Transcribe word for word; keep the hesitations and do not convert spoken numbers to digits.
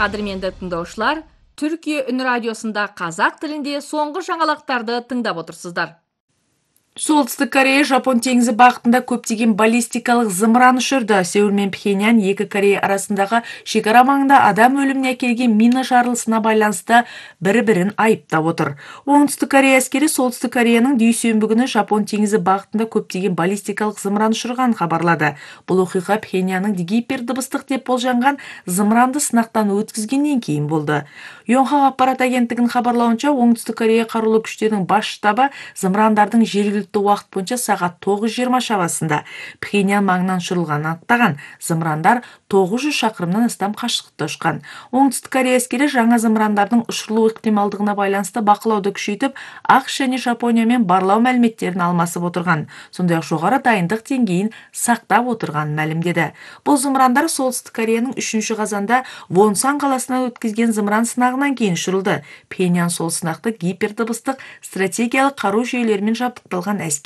Кадырменде тыңдоочулар, Түркия Үн радиосунда казак тилинде соңку жаңалыктарды тыңдап отурсуздар. Солтүстүк Корея Жапон теңизи багытында көптөгөн баллистикалык зымыран учурду. Сеул менен Пхеньян эки Корея арасындагы шек ара маңында адам өлүмүнө әкелген мина жарылысына байланыштуу бири-бирин айыптап отур. Оңтүстүк Корея аскери Солтүстүк Кореянын дүйсөнбү күнү Жапон теңизи багытында көптөгөн баллистикалык зымыран учурганын кабарлады. Бул окуя Пхеньяндын гипердыбыстык деп болжанган зымыранды сынактан өткүзгөндөн кийин болду. Yonhap акпарат агенттигинин кабарлауынча, Оңтүстүк Корея карулуу күчтөрүнүн баш штабы зымырандардын жергиликтүү убакыт боюнча саат тогуз жыйырма шамасында Пхеньян маңынан учурулганын аттаган. Зымырандар тогуз жүз шакырымдан астам кашыктыкта учкан. Оңтүстүк Корея аскери жаңы зымырандардын учурулуу ыктымалдыгына байланыштуу бакылооду күчөйтүп, АКШ жана Жапония менен барлоо маалиметтерин алмасып отурган. Сондай-ак жогору дайындык деңгээлин сактап отурганын маалимдеди. Бул зымырандар Солтүстүк Кореянын үчүнчү казанда Вонсан каласынан өткөзгөн зымыран сынагынан кийин учурулду. Пхеньян сол сынакты гипердыбыстык стратегиялык каруу жүйөлөрү менен жабдыкталган әскери